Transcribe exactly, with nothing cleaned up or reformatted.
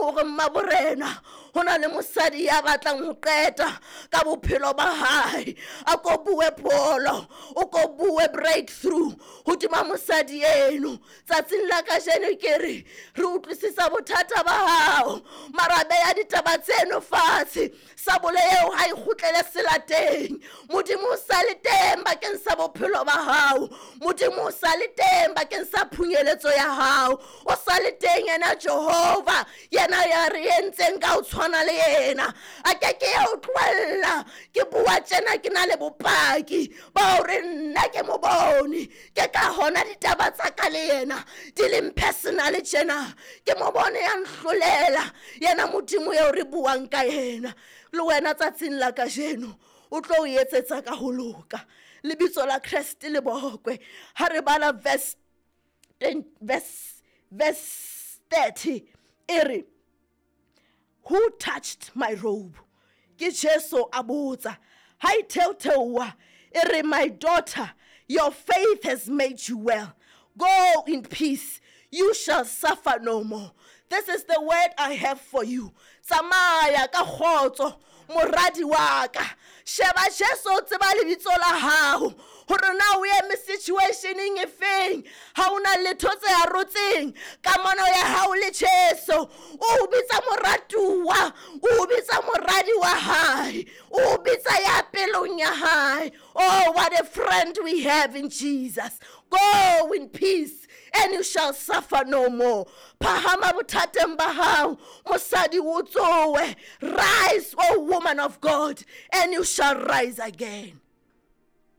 Modimo o re mmaborena ho na le mosadi ya batlang ho qeta ka bophelo ba hae. A ko bue pholo, o ko bue breakthrough hodima mosadi eno. Tsatsing la kajeno ke re re utlwisisa bothata ba hao, mara beha ditaba tseno fatshe. Sabole eo ha e kgutlele selateng. Modimo o sa le teng bakeng sa bophelo ba hao. Modimo o sa le teng bakeng sa phunyeletso ya hao. O sa le teng yena Jehova, yena ya re entseng ka ho tshwana le yena. A ke ke ya o tlohella. Ke bua tjena ke na le bopaki ba hore nna ke mo bone. Ke ka hona ditaba tsa ka le yena di leng personal tjena. Ke mo bone ya nhlolela yena Modimo eo re buang ka yena. Le wena tsatsing la kajeno o tlo o etsetsa ka ho loka. Lebitso la Kreste le bokwe. Ha re bala verse ten, verse, verse thirty e re, who touched my robe? Ke Jesu a botsa. Ha e theotheoha e re, my daughter, your faith has made you well. Go in peace. You shall suffer no more. This is the word I have for you. Tsamaya ka kgotso, moradi wa ka. Sheba Jesu o tseba lebitso la hao. Hore na o eme situationeng e feng. Ha o na letho tse arotseng kamano ya hao le Jesu. O bitsa moratuwa, o bitsa moradi wa hae, o bitsa ya pelong ya hae. Oh, what a friend we have in Jesus. Go in peace and you shall suffer no more. Phahama bothateng ba hao, mosadi o tsohe. Rise, O woman of God, and you shall rise again.